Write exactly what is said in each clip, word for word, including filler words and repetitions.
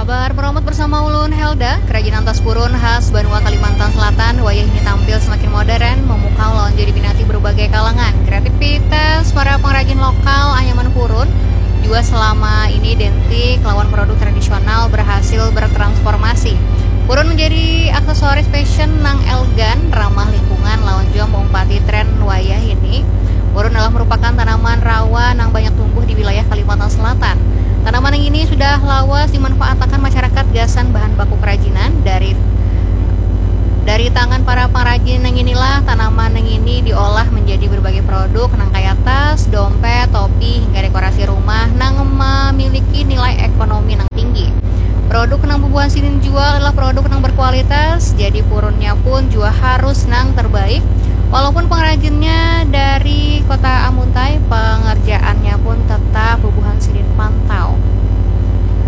Bar meromot bersama ulun Helda, kerajinan tas purun khas Banua Kalimantan Selatan wayah ini tampil semakin modern, memukau lawan jadi minati berbagai kalangan. Kreativitas para pengrajin lokal anyaman purun juga selama ini identik lawan produk tradisional berhasil bertransformasi. Purun menjadi aksesoris fashion nang elegan, ramah lingkungan, lawan juga meumpati tren wayah ini. Purun adalah merupakan tanaman rawa nang banyak tumbuh di wilayah Kalimantan Selatan. Tanaman yang ini sudah lawas dimanfaatakan masyarakat gasan bahan baku kerajinan dari dari tangan para pengrajin yang inilah tanaman yang ini diolah menjadi berbagai produk nang kaya tas, dompet, topi, hingga dekorasi rumah nang memiliki nilai ekonomi nang tinggi. Produk nang bubuhan sidin jual adalah produk nang berkualitas, jadi purunnya pun juga harus nang terbaik. Walaupun pengrajinnya dari kota Amuntai, pengerjaannya pun tetap bubuhan sidin pantau.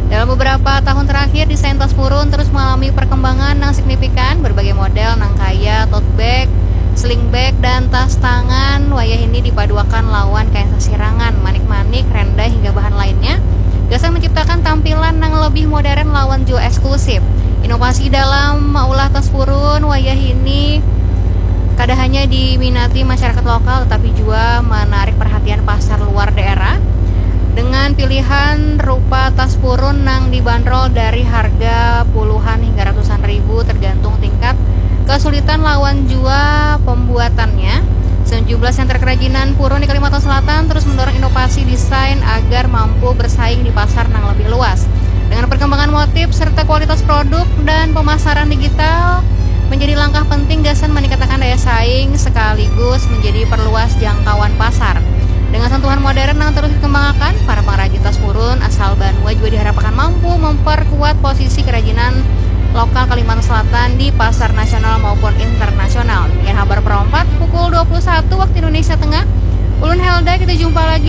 Dalam beberapa tahun terakhir, desain tas purun terus mengalami perkembangan yang signifikan. Berbagai model nang kaya tote bag, sling bag, dan tas tangan wayah ini dipaduakan lawan kain sasirangan, manik-manik, renda, hingga bahan lainnya. Gasan menciptakan tampilan yang lebih modern lawan juga eksklusif. Inovasi dalam maulah tas purun wayah ini kada hanya diminati masyarakat lokal, tetapi juga menarik perhatian pasar luar daerah dengan pilihan rupa tas purun nang dibanderol dari harga puluhan hingga ratusan ribu, tergantung tingkat kesulitan lawan jua pembuatannya. Sejumlah sentra kerajinan purun di Kalimantan Selatan terus mendorong inovasi desain agar mampu bersaing di pasar nang lebih luas. Dengan perkembangan motif serta kualitas produk dan pemasaran digital menjadi langkah penting gasan meningkatkan daya saing sekaligus menjadi perluas jangkauan pasar. Dengan sentuhan modern yang terus dikembangkan, para pengrajin tas purun asal Banua juga diharapkan mampu memperkuat posisi kerajinan lokal Kalimantan Selatan di pasar nasional maupun internasional. Demikian Habar Perompat pukul dua puluh satu waktu Indonesia Tengah. Ulun Helda, kita jumpa lagi